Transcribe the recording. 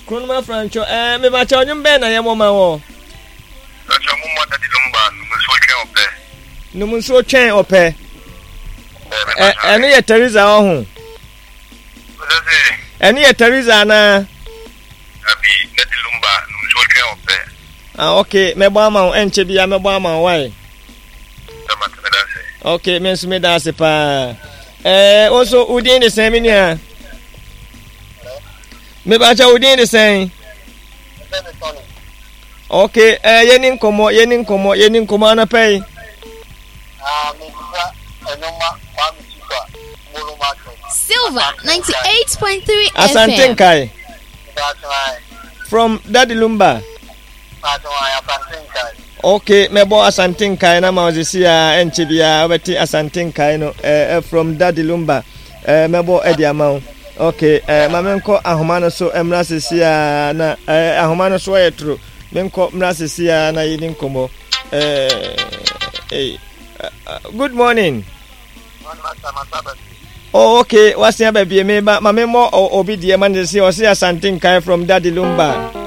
Kronoma Franco, ɛɛ mebakyɛ ɔnwom bɛn na yɛmmɔ ma wɔ? Mebakyɛ mo mmɔ Daddy Lumba Nom Nsuo Twɛn Ɔpɛ. Nom Nsuo Twɛn Ɔpɛ. Ɛno yɛ Teresa ɔho. Ɛno yɛ Teresa anaa? Dabi, Daddy Lumba Nom Nsuo Twɛn Ɔpɛ. Ah, okay, mɛbɔ ama wo, ɛnkyɛ bia mɛbɔ ama wo, why? Ok, me nso meda ase paa. Ɛɛ, wo nso wo din de sɛn me nua? Mebakyɛ wo din de sɛn? Ok, ɛɛ yɛni nkɔmmɔ, yɛni nkɔmmɔ, yɛni nkɔmmɔ anɔpɛ yi. Silver 98.3 FM. Asante Nkae. From Daddy Lumba. Ok, mɛbɔ Asante Nkae na ma ɔsisi a ɛnkyɛ biara wobɛte Asante Nkae no eh, eh, from Daddy Lumba eh, mɛbɔ ɛde ama wo. Ok, eh, ma menkɔ ahoma no so mmra sisi a na eh, ahoma no so ayɛ toro. Menkɔ mmra sisi a na yɛdi nkɔmmɔ. Eh, eh, good morning. Oh, okay. Wasi aba bie me ba ma me mo obi die ma ne se ɔse Asante Nkae from Daddy Lumba.